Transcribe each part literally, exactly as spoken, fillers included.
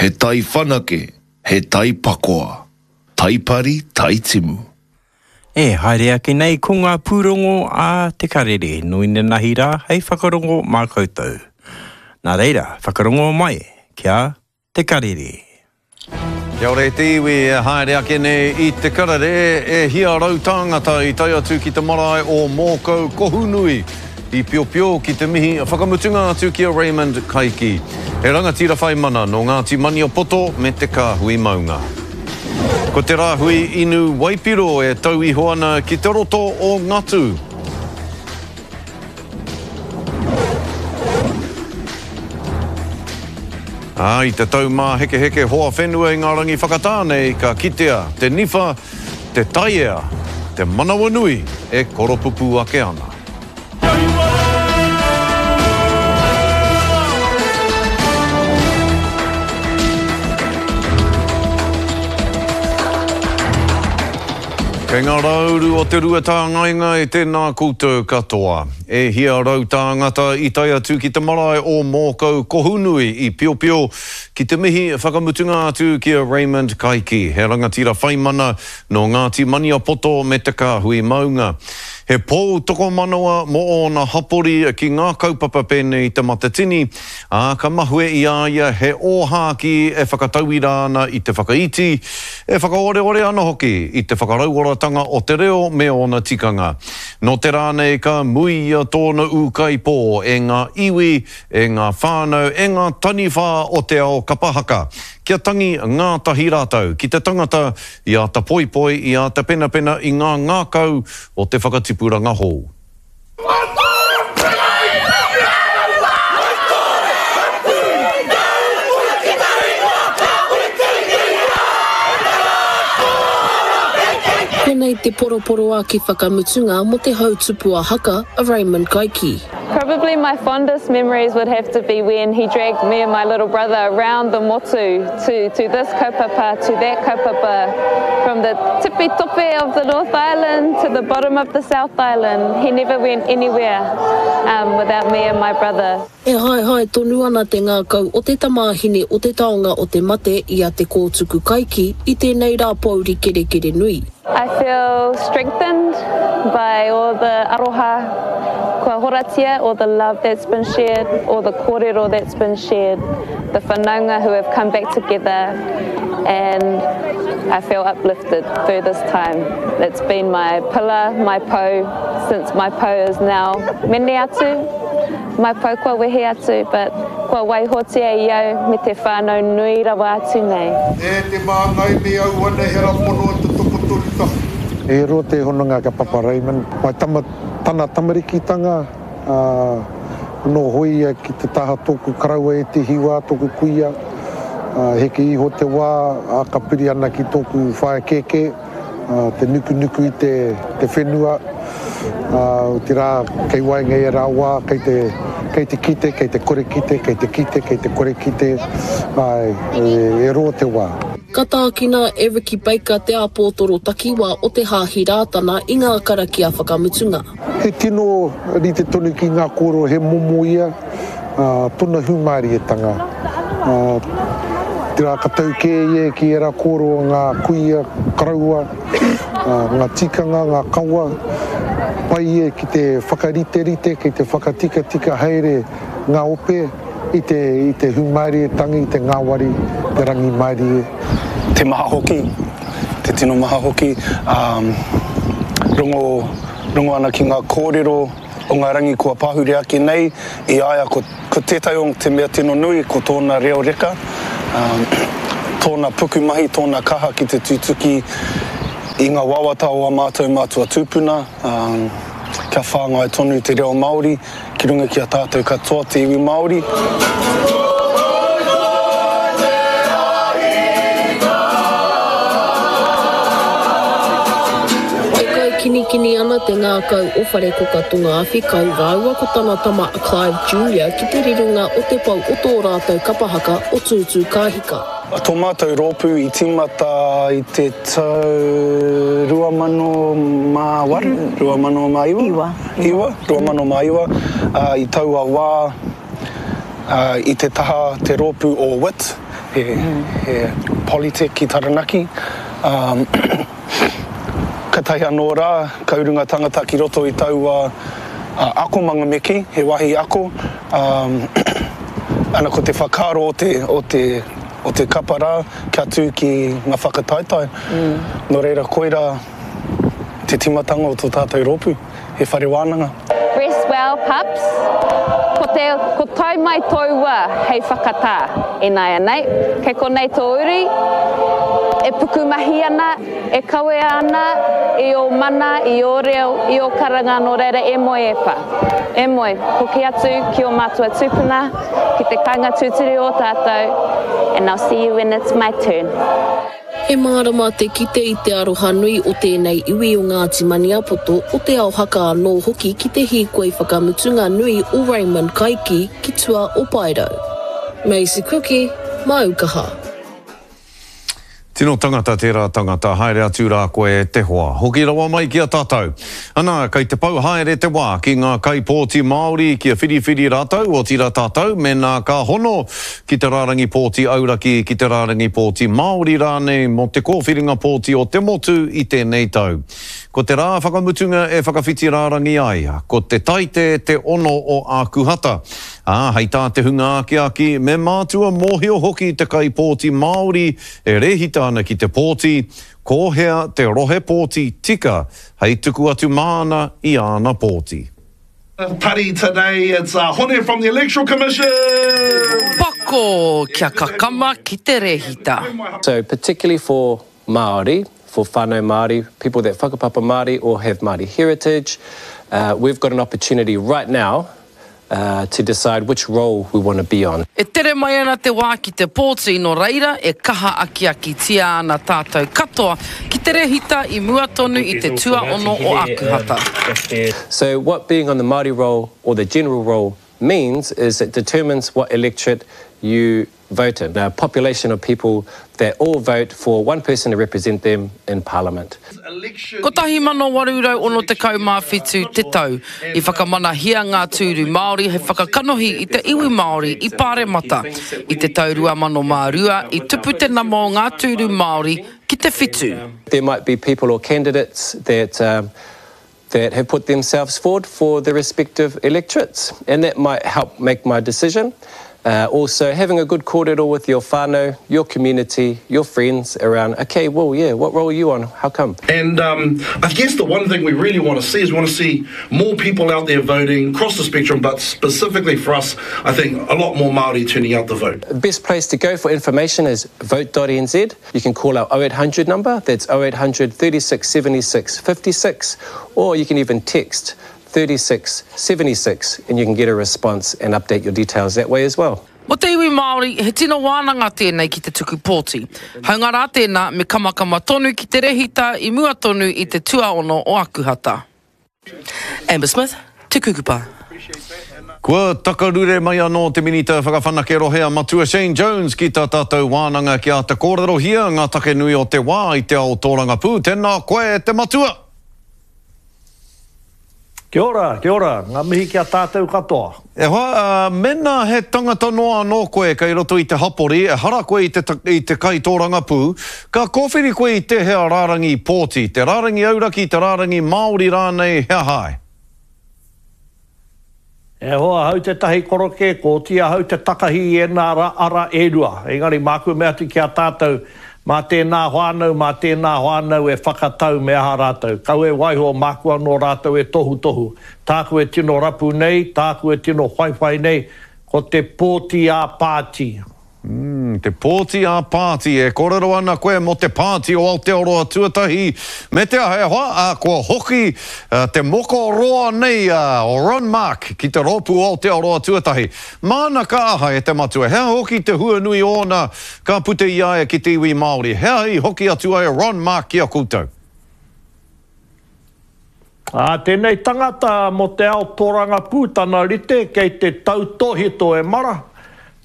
He tai whanake, he tai pakoa. Tai pari, tai timu. E haere ake nei ko ngā pūrongo a Te Karere, no inanahi rā hei whakarongo mā koutou. Nā reira, whakarongo mai kia Te Karere. Kia ora e te iwi e haere ake nei i Te Karere, e hia rau tāngata i tae atu ki te marae o Mōkau Kohunui i Piopio ki te mihi whakamutunga atu ki a Raymond Kaiki. He rangatira whai mana nō Ngāti Maniapoto me te Kāhui Maunga. Ko te rāhui inu waipiro e tau iho ana ki te roto o Ngatu. Ā, i te tau māhekeheke hoa whenua i ngā rangi whakatā nei, ka kitea te niwha, te taiea, te manawanui e koropupū ake ana. Kei ngā rauru o te rua tāngaengae e tēnā koutou katoa. E hia rau tāngata i tae atu ki te marae o Mōkau Kohunui i Piopio ki te mihi whakamutunga atu ki a Raymond Kaiki, he rangatira whaimana nō Ngāti Maniapoto me te Kāhui Maunga. He pou tokomanawa mō ōna hapori ki ngā kaupapa pēnei te Matatini, ā, ka mahue i a ia he ōhākī e whakatauira ana i te whakaiti, e whakaoreore ana hoki i te whakarauoratanga o te reo me ōna tikanga. Nō te rā nei ka muia tōna ūkaipō e ngā iwi, e ngā whānau, e ngā taniwha o te ao kapa haka. Kia tangi ngātahi rātou ki te tangata i āta poipoi, i āta penapena i ngā ngākau o te whakatipuranga hou. Konei te poroporoaki whakamutunga mō te hautupua haka a Raymond Kaiki. Probably my fondest memories would have to be when he dragged me and my little brother around the motu to, to this kaupapa, to that kaupapa, from the tipi tope of the North Island to the bottom of the South Island. He never went anywhere um, without me and my brother. E haehae tonu ana te ngākau o te tamāhine o te taonga o te mate i a Te Kōtuku Kaiki i tēnei rā pōuri kerekere nui. I feel strengthened by all the aroha kua horatia, all the love that's been shared, all the kōrero that's been shared, the whanaunga who have come back together, and I feel uplifted through this time. It's been my pillar, my pou, since my pou is now mene atu, my pou kua wehe atu, but kua waihotia i au me te whānau nui rawa atu nei. E te māngai me au ana he rapono te tokotoru tahi. E roa te hononga ka Papa Raymond. Mai tama, tana tamarikitanga, uh, no hoi ia ki te taha tōku karaua e te hiwa, tōku kuia. Uh, heke iho te wā, a ka piri ana ki tōku whaea kēkē, uh, te nukunuku i te, te whenua. Uh, te rā, kei waenga i rā wā, kei te, kei te kite, kei te kore kite, kei te kite, kei te kore kite, ai, e, e roa te wā. Ka tākina e Ricky Baker te āpōtoro takiwā o te Hāhi Rātana i ngā karakia whakamutunga. He tino rite tonu ki ngā kōrero he momo ia, uh, tōna hūmārietanga. Uh, te rā ka tau kē ia ki era kōrero ngā kuia, karaua, uh, ngā tikanga, ngā kawa, pai ia ki te whakariterite, ki te whakatikatika haere ngā ope i te, i te hūmārietanga, i te ngāwari, te rangimārie. Te maha hoki, te tino maha hoki, um, rongo, rongo ana ki ngā kōrero o ngā rangi kua pahure ake nei, i aia ko, ko tētahi o te mea tino nui, ko tōna reo reka, um, tōna pukumahi, tōna kaha ki te tutuki i ngā wawata o a mātou mātua tūpuna, um, kia whāngai tonu te reo Māori, ki runga ki a tātou katoa te iwi Māori. E kaikinikini ana te ngākau o Wharekoka Tonga Awhikau rāua ko tana tama a Clive Junior ki te rironga o te pau o tō rātou kapahaka o Tūtū Kāhika. Tō mātou rōpū i tīmata i te tau rua mano mā waru, rua mano mā iwa? Iwa. Iwa, rua mano mā iwa. Uh, i taua wā, i te taha te rōpū o W I T, he, he Polytech ki Taranaki. Katahi anō rā, ka uru ngā tangata ki roto i taua akomanga me kī, he wāhi ako, ana ko te whakaaro o te, o te, o te kapa rā kia tū ki ngā whakataetae. Nō reira, koirā te tīmatanga o tō tātou rōpū, he whare wānanga. Rest well pups. Ko te, ko tau mai tōu wā hei whakatā ināianei. Kei konei tō uri e pukumahi ana, e kawea ana i ō mana, i ō reo, i ō karanga nō reira e moe e pa. E moe, hoki atu ki ō mātua tūpuna, ki te kāinga tūturu o tātou and I'll see you when it's my turn. He mārama te kite i te aroha nui o tēnei iwi o Ngāti Maniapoto, o Te Ao Haka anō hoki ki te hīkoi whakamutunga nui o Raymond Kaiki ki tua o Paerau. Maisie Kuki, Māu kaha. Tino tangata tērā tangata, haere atu rā koe e te hoa. Hoki rawa mai ki a tātou. Anā, kei te pau haere te wā ki ngā kaipōti Māori kia whiriwhiri rātou, otirā tātou, mēnā ka hono ki te rārangi pōti auraki, ki te rārangi pōti Māori rānei mō te kōwhiringa pōti o te motu i tēnei tau. Ko te rā whakamutunga e whakawhiti rārangi ai, ko te Taite te ono o Ākuhata. Ā, hei tā te hunga akiaki, me mātua mōhio hoki te kaipōti Māori e rēhita ana ki te pōti, ko hea te rohe pōti tika hei tuku atu māna i āna pōti. Party today, it's uh, Hone from the Electoral Commission! Pako kia kakama ki te rehita. So particularly for Māori, for whānau Māori, people that whakapapa Māori or have Māori heritage, uh, we've got an opportunity right now uh, to decide which role we want to be on. E tere mai ana te wā ki te pōti, nō reira e kaha akiakitia ana tātou katoa ki te rehita i mua tonu i te tuaono o Ākuhata. So what being on the Māori roll or the general roll means is it determines what electorate you vote in. A population of people that all vote for one person to represent them in Parliament. Kotahi mano waru rau ono tekau mā whitu te tau i whakamanahia ngā tūru Māori hei whakakanohi i te iwi Māori i Pāremata. I te tau rua mano mā rua i tupu te nama o ngā tūru Māori ki te whitu. There might be people or candidates that, um, that have put themselves forward for their respective electorates, and that might help make my decision. Uh, also, having a good kōrero with your whānau, your community, your friends around, okay, well, yeah, what role are you on? How come? And um, I guess the one thing we really want to see is we want to see more people out there voting across the spectrum, but specifically for us, I think a lot more Māori turning out to vote. The best place to go for information is vote dot N Z. You can call our oh eight hundred number, that's oh eight hundred thirty-six seventy-six fifty-six, or you can even text thirty-six seventy-six and you can get a response and update your details that way as well. Mo te iwi Māori, he tino wānanga tēnei ki te tuku pōti. Haunga rā tēnā, me kamakama tonu ki te rehita i mua tonu i te tuaono o Akuhata. Amber Smith, Te Kukupa. Kua takarure mai anō te Minita Whakawhanake Rohe a Matua Shane Jones ki tā tātou wānanga ki āta kōrerohia ngā take nui o te wā i te ao tōrangapū. Tēnā koe te matua! Kia ora, kia ora, ngā mihi ki a tātou katoa. E hoa, uh, mena he tangata noa anō koe kei roto i te hapori, e hara koe i te, i te kai tōrangapū, ka kōwhiri koe i te hea rārangi pōti, te rārangi auraki, te rārangi Māori rānei, hea hae? E hoa, hau te tahi koroke, ko tia hau te takahi i e nā ra, ara e rua. Engari māku mea atu ki a tātou, mā tēnā whānau, mā tēnā whānau e whakatau me aha rātou. Kau e waiho māku anō rātou e tohu tohu. Tāku e tino rapu nei, tāku e tino whaiwhai nei, ko te pōti a pāti. Mm, te pōti a pāti, e kōrero ana koe mō te pāti o Aotearoa tuatahi. Me te aha e hoa, a, kua hoki a, te moko roa nei a, o Ron Mark ki te rōpū Aotearoa tuatahi. Māna ka aha e te matua, hea hoki te huanui ōna ka pute i aia ki te iwi Māori. Hea i hoki atu ai Ron Mark ki a koutou? Ā, tēnei tangata mō te ao tōrangapū tana rite kei te tautohito e mara,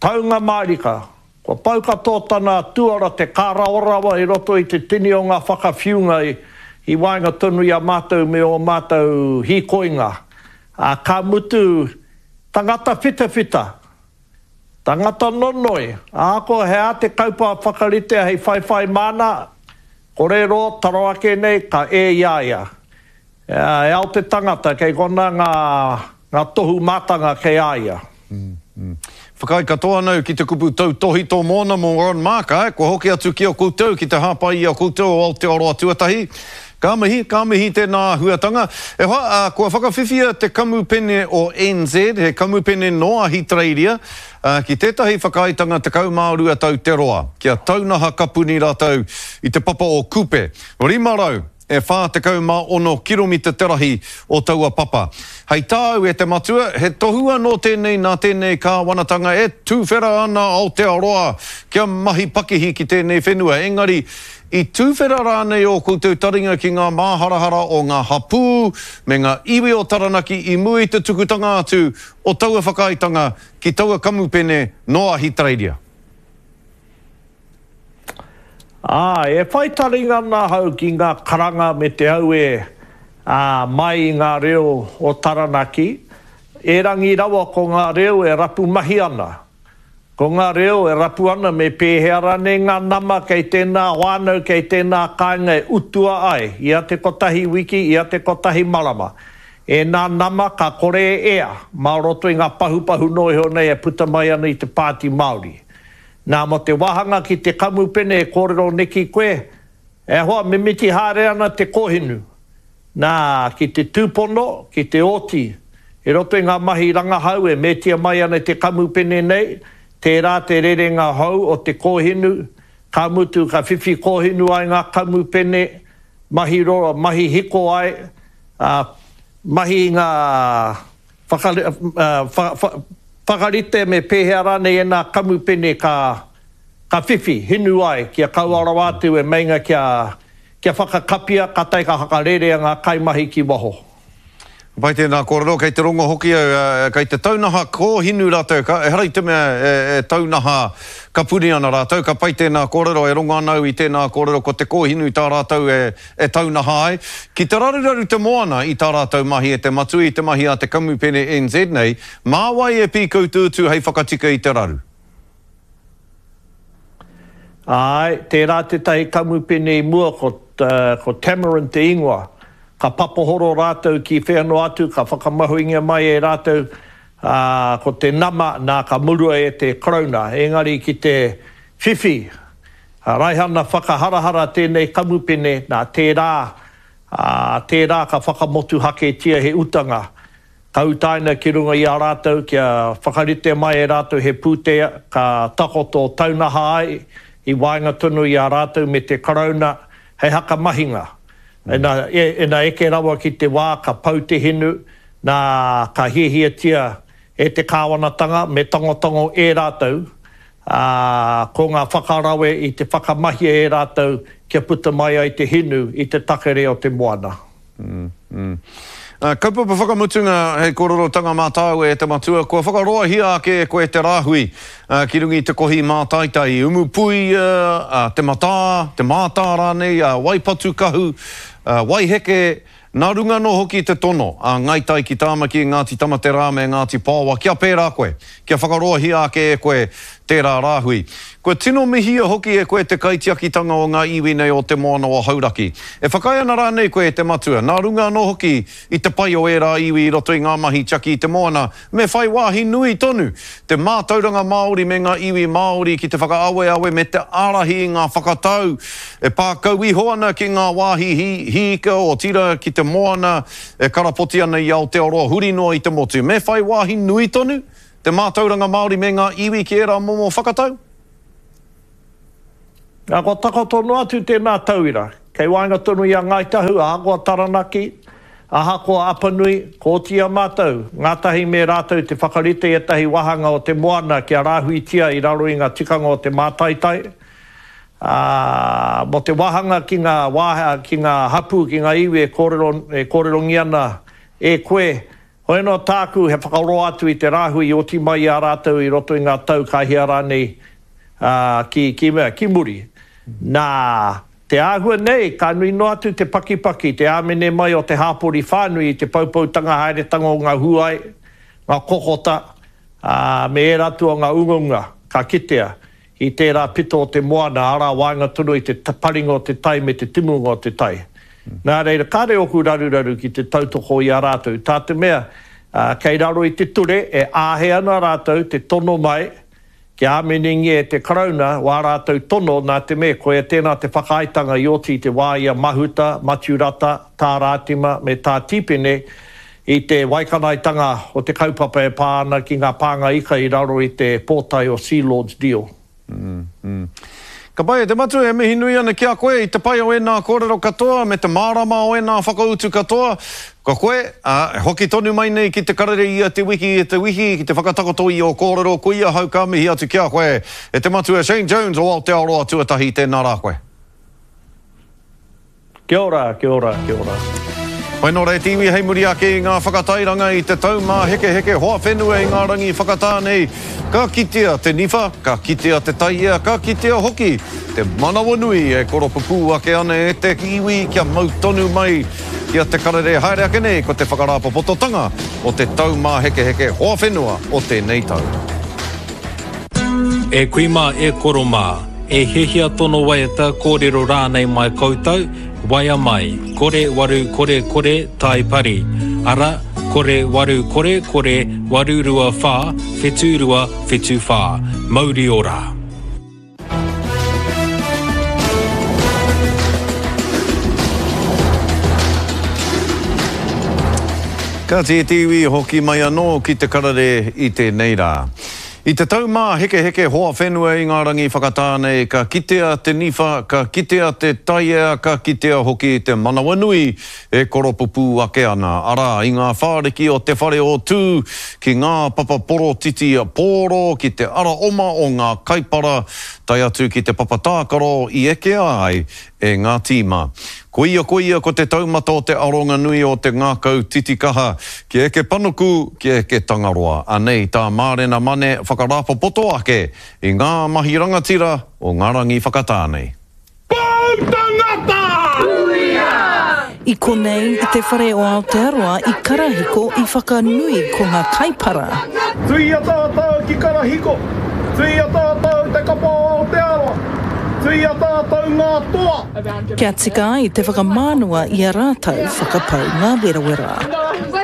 taunga mārika. Kua pau katoa tana tuara te kāraorawa i roto i te tini o ngā whakawhiunga i, i waenga tonu i a mātou me o mātou hīkoinga. Ā, ka mutu tangata whitawhita, Tangata nonoi, ahakoa he aha te kaupapa whakaritea hei whaiwhai māna, kore roa taro ake nei ka e i a ia. E ao te tangata kei konā ngā, ngā tohu mātanga kei a ia. Whakaae katoa ana au ki te kupu tautōhito mōna mō Ron Mark, āe, kua hoki atu ki a koutou ki te hāpai i a koutou o Aotearoa Tuatahi. Ka mihi, ka mihi tēnā āhuatanga. E hoa, ā, kua whakawhiwhia te kamupene o N Z, he kamupene nō Ahitereiria, ā, ki tētahi whakaaetanga tekau mā rua tau te roa, kia taunaha kapuni rātou i te papa o Kupe. Rima rau e whā tekau mā ono kiromita te rahi o taua papa. Hei tāu e te matua, he tohu anō tēnei nā tēnei kāwanatanga e tuwhera ana Aotearoa kia mahi pakihi ki tēnei whenua, engari I tuwhera rānei ō koutou taringa ki ngā māharahara o ngā hapū me ngā iwi o Taranaki i mua i te tukutanga atu o taua whakaaetanga ki taua kamupene nō Ahitereiria? Āe, e whai taringa ana ahau ki ngā karanga me te auē, ā, mai i ngā reo o Taranaki, erangi rawa ko ngā reo e rapu mahi ana. Ko ngā reo e rapu ana me pēhea rānei ngā nama kei tēnā whānau, kei tēnā kāinga e utua ai ia te kotahi wiki, ia te kotahi marama. Ēnā nama ka kore e ea mā roto i ngā pahupahu noa iho nei e puta mai ana i te Pāti Māori. Nā, mō te wāhanga ki te kamupene e kōrero neki koe, e hoa, mimiti haere ana te kōhinu. Nā, ki te tūpono, ki te oti, i roto i ngā mahi rangahau e metia mai ana e te kamupene nei, tērā te rerenga hou o te kōhinu, ka mutu ka whiwhi kōhinu ai ngā kamupene, mahi roro, mahi hiko ai, ā, mahi i ngā whaka, whakarite me pēhea rānei ēnā kamupene ka, ka whiwhi, hinu ai, kia kaua rawa atu e meinga kia, kia whakakapia, kātahi ka whakarerea ngā kaimahi ki waho. Pai tēnā kōrero, kei te rongo hoki au, kei te taunaha kōhinu rātou, ka, ehara i te mea e, e taunaha kapuni ana rātou, ka pai tēnā kōrero, e rongo ana au i tēnā kōrero, ko te kōhinu tā rātou e, e taunaha ai. Ki te raruraru te moana i tā rātou mahi e te matua i te mahi a te kamupene N Z nei, mā wai e pīkau te utu hei whakatika i te raru? Āe, tērā tētahi kamupene i mua ko, ko Tamarind te ingoa. Ka papohoro rātou ki whea noa atu, ka whakamahuingia mai e rātou, ā, ko te nama, nā, ka murua e te Karauna. Engari ki te whiwhi raihana whakaharahara tēnei kamupene, nā, tērā, ā, tērā ka whakamotuhaketia he utanga. Ka utaina ki runga i a rātou kia whakaritea mai e rātou he pūtea ka takoto taunaha ai i waenga tonu i a rātou me te Karauna hei hakamahinga. Ina, ina eke rawa ki te wā ka pau te hinu, nā, ka hiahiatia e te kāwanatanga me tangotango e rātou, ā, ko ngā whakarawe i te whakamahia e rātou kia puta mai ai te hinu i te takere o te moana. Kaupapa whakamutunga hei kōrerotanga mā tāua e te matua, kua whakaroahia ake e koe te rāhui ki runga i te kohi mātaitai i Umupuia, Te Matā, Te Mātā rānei, Waipatukahu, Waiheke, nā runga anō hoki i te tono a Ngai Tai ki Tāmaki, Ngāti Tamaterā me Ngāti Paoa kia pērā koe, kia whakaroahia ake e koe tērā rāhui. Kua tino mihia hoki e koe te kaitiakitanga o ngā iwi nei o te moana o Hauraki. E whakaae ana rānei koe e te matua, nā runga anō hoki i te pai o ērā iwi i roto i ngā mahi tiaki i te moana, me whai wāhi nui tonu te mātauranga Māori me ngā iwi Māori ki te whakaaweawe me te ārahi i ngā whakatau e pā kau iho ana ki ngā wāhi hī, hīika, otirā ki te moana e karapoti ana i Aotearoa huri noa i te motu. Me whai wāhi nui tonu te mātauranga Māori me ngā iwi ki ērā momo whakatau? Nā, kua takoto noa atu tēnā tauira, kei waenga tonu i a Ngāi Tahu, ahakoa Taranaki, ahakoa Apanui, kua oti i a mātou, ngātahi me rātou te whakarite i ētahi wāhanga o te moana kia rāhuitia i raro i ngā tikanga o te mātaitai, ā, mō te wāhanga ki ngā wā, ki ngā hapū, ki ngā iwi e kōrero, e kōrerongia ana e koe, hoi anō tāku he whakaroa atu i te rāhui i oti mai i a rātou i roto i ngā tau ka hia rānei ā, ki, ki mea, ki muri. Nā, te āhua nei, ka nui noa atu te pakipaki, te āmene mai o te hāpori whānui i te poupoutanga haeretanga o ngā huai, ngā kokota, ā, me ērā atu o ngā ungaunga ka kitea i tērā pito o te moana, arā, waenga tonu i te paringa o te tai me te timunga o te tai. Nā reira, kāre ōku raruraru ki te tautoko i a rātou, tā te mea, kei raro i te ture e āhei ana rātou te tono mai kia āminengia e te Karauna wā rātou tono nā te mea koia tēnā te whakaaetanga i oti i te wā i a Mahuta, Matiu Rata, Tā Rātima me Tā Tīpene i te waikanaetanga o te kaupapa e pā ana ki ngā pānga ika i raro i te pōtae o Sealord's Deal. Ka pai e te matua, e mihi nui ana ki a koe i te pai o ēnā kōrero katoa me te mārama o ēnā whakautu katoa. Ka koe, ā, e hoki tonu mai nei ki te karere ia te wiki e te wiki ki te whakatakoto i ō kōrero, koia ahau ka mihi atu ki a koe e te matua Shane Jones o Aotearoa Tuatahi, tēnā rā koe. Kia ora, kia ora, kia ora. Whai nō reira te iwi hei muri ake i ngā whakatairanga i te taumāhekeheke hoa whenua i ngā rangi whakatā nei, ka kitea te niwha, ka kitea te taiea, ka kitea hoki te manawanui e koropupū ake ana e te iwi kia mau tonu mai ki a Te Karere haere ake nei ko te whakarāpopototanga o te taumāhekeheke hoa whenua o tēnei tau. E kui mā, e koro mā, e hiahia tono waiata kōrero rānei mai koutou, waea mai, kore waru kore kore tai pari, ara, kore waru kore kore waru rua whā, whetū rua, whetū whā. Mauri ora! Kāti e te iwi, hoki mai anō ki te karere i tēnei rā. I te taumāhekeheke hoa whenua i ngā rangi whakatā nei, ka kitea te niwha, ka kitea te taiea, ka kitea hoki te manawanui e koropupū ake ana, arā, i ngā whāriki o Te Whare o Tū, ki ngā papa porotiti pōro, ki te ara oma o ngā kaipara, tae atu ki te papa tākaro i ekea ai e ngā tīma. Koia koia ko te taumata o te aronga nui o te ngākau titikaha, kia eke panuku, kia eke Tangaroa. Anei tā Mārena Mane whakarāpopoto ake i ngā mahi rangatira o ngā rangi whakatā nei. Pou tangata! Huia! I konei, i te whare o Aotearoa i Karahiko i whakanui ko nga kaipara. Tuia tātou ki Karahiko, tuia tātou te kapa o Aotearoa, tuia tātou ngā toa. Kia tika ai te whakamānawa i a rātou whakapau ngā werawera.